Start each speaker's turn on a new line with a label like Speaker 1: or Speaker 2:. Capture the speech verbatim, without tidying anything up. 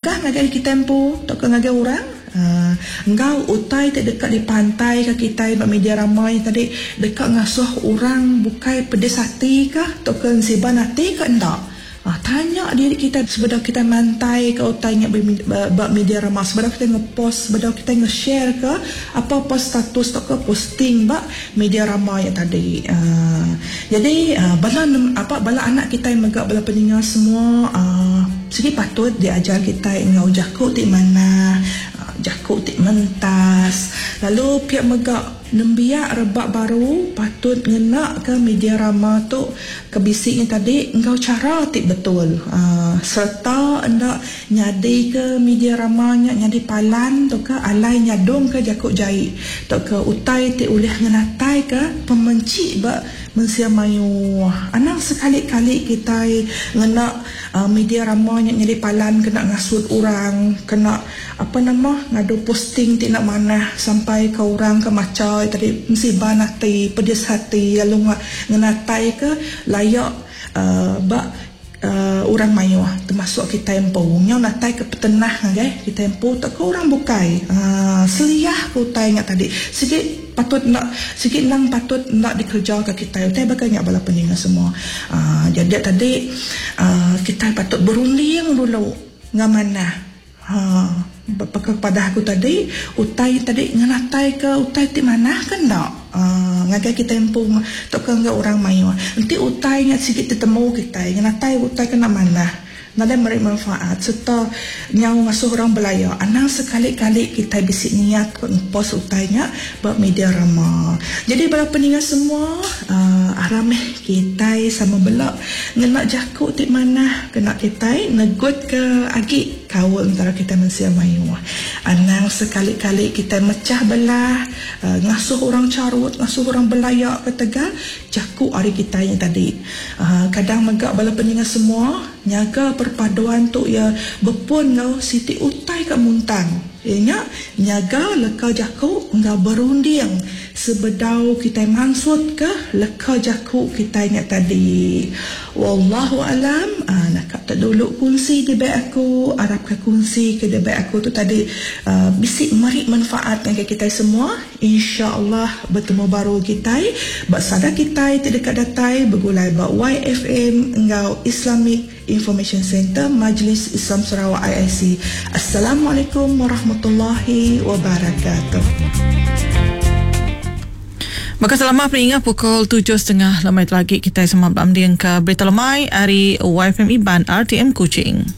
Speaker 1: Kah ngagai kitai empu tauka ngagai orang? Uh, enggau utai ti deka dipantai ke kitai ba media ramai tadi deka ngasuh orang bukai pedis ati kah tauka ensiban ati ke enda? Uh, tanya diri kita sebedau kita mantai ke utai nya ba media ramai, sebedau kita ngepost, sebedau kita nge-share ke apa-apa status tauka posting ba media ramai ya tadi. Uh, jadi uh, bala apa bala anak kita mega bala peninga semua uh, sigi patut diajar kita enggau jaku ti manah, jaku ti mentas. Lalu pihak mega nembiak rebak baru patut ngena ke media rama tu kebisiknya tadi enggau cara ti betul. Uh, serta enda nyadi ke media rama nya nyadi palan tu ke alai nyadung ke jaku jai tu ke utai ti ulih ngenatai ke pemenci ba mensia mayu. Anang sekali-kali kita ngena uh, media rama nya nyadi palan kena ngasut orang, kena apa nama ngadu posting ti nak manah sampai ke orang ke maca tadi msiban hati, pedis hati lalu ngenatai ke layak uh, ba uh, orang mayuh termasuk kita empu. Nyau natai ke petenah ngagai kita empu tak ke orang bukai. Uh, seliah ke utai nya tadi. Sikit patut nak sikit nang patut nak dikerja ke kita. Utai bakal nya bala peninga semua. Uh, jadi tadi uh, kita patut berunding dulu ngamanah. Ha, kepada aku tadi utai tadi ngenatai ke utai ti manah kan tak? Uh, ngagai kita empu tok ke enggau orang mayuh. Enti utai nya sikit tetemu kita ngenatai utai kena manah, nadai meri manfaat serta nyau ngasuh orang belaya. Anang sekali-kali kita bisi niat ke post utainya ba media rama. Jadi bala peninga semua, uh, arameh kita sama belak ngena jaku ti manah kena kita negut ke agi kaul antara kita mensia mayuh. Anang sekali-kali kita mecah belah, uh, ngasuh orang carut, ngasuh orang belayak ke tegal jaku hari kita yang tadi. Uh, kadang megak bala peninga semua nyaga perpaduan tu ya berpun ngau siti utai kat muntang. Ianya nyaga leka jaku ngau berunding sebedau kita mansut ke leka jaku kita nya tadi. Wallahu alam. Ah, nak tak dulu kongsi debat aku, arap ke kongsi ke debat aku tu tadi uh, bisi meri manfaat ngagai kita semua. Insya-Allah bertemu baru kita bak sada kita ti dekat datai bergulai bak Y F M enggau Islamic Information Center Majlis Islam Sarawak I I C. Assalamualaikum warahmatullahi wabarakatuh.
Speaker 2: Maka selama peringat pukul tujuh setengah lemai lagi kita sama berambing ke Berita Lemai hari Y F M Iban R T M Kuching.